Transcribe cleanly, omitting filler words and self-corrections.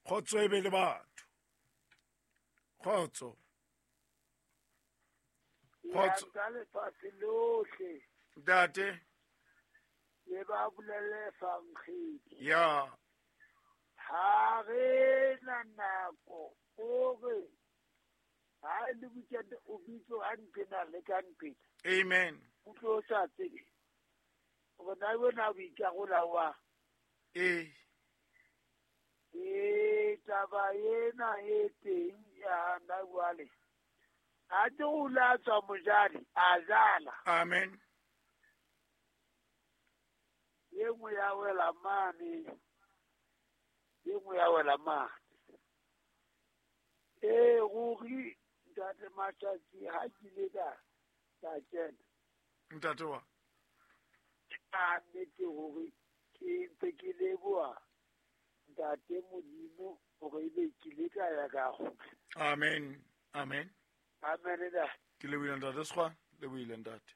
Kgotso e be le batho. Kgotso. Kgotso. Ya lefatshe lohle. Ntate. Le ba bolele fankgedi. Ya. Ha re na nako gore ha e le weekend o bitso a nqena le ka nqena. Amen. O tlo sa tsebe. Gore na wena o ikarola wa. Ee. Ee, taba ena e teng ya na jwale. A te o la tswa mojadi, a jala. Amen. Ye nngwe ya wela mane, ye nngwe ya wela mane. Ee, ruri ntate Matšatši ha ke ile ka ka kena. Ntate wa. Ka nnete hore ke ntse ke leboha ntate Modimo hore ebe ke ile ka ya ka kgutla. Amen. Amen. Amen ntate. Ke lebohile ntate Sekgwa, lebohile ntate.